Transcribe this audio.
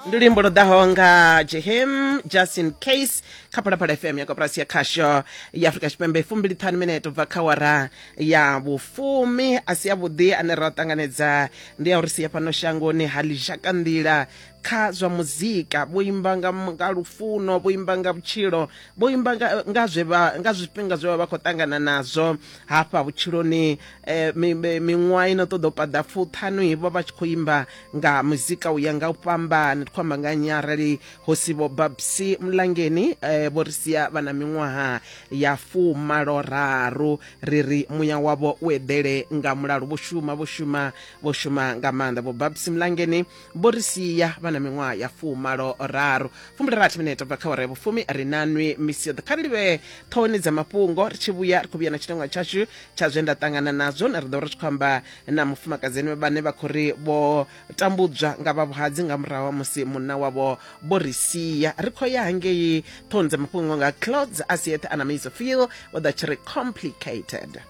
Ndi luimbo lwo ḓaho nga Jehim Just in Case kha Phalaphala FM ya koporasi ya khasho ya Afrika Tshipembe. 25 minete ubva kha wara ya vhufumi. A si avhuḓi ane ra ṱanganedza ndi ya uri sia fhano shangoni ha ḽizhaka nḓila kha zwa muzika. Vho imba nga lufuno, vho imba nga vhutshilo, vho imba nga zwe vha nga zwifhinga zwe vha vha khou ṱangana nazwo hafha vhutshiloni. Miṅwaha ino ṱoḓa u paḓa fuṱhanu vho vha tshi khou imba nga muzika u ya nga u fhambana. Ndi khou amba nga nnyi arali ho si vho Babsy Mlangeni? Vho ri sia vha na miṅwaha ya 83. Ri ri muya wavho u eḓele nga mulalo. Vho shuma, vho shuma, vho shuma nga maanḓa. Vho Babsy Mlangeni vho ri sia vha na miṅwaha ya 83. 60 minete bva kha awara ya vhufumi. Ri na nwi misi yoṱhe. Kha ri livhe ṱhohoni dza mafhungo. Ri tshi vhuya ri khou vhuya na tshiteṅwa tshashu tsha zwe nda ṱangana nazwo, na ri ḓo ri tshi khou amba na mufumakadzi ene vhane vha khou ri vho tambudzwa nga vha vhuhadzi nga murahu ha musi munna wavho vho ri sia. Ri khou ya hangei ṱhohoni dza mafhungo nga Clods Asiethe ana Miso Feel vho ḓa tshi ri Complicated.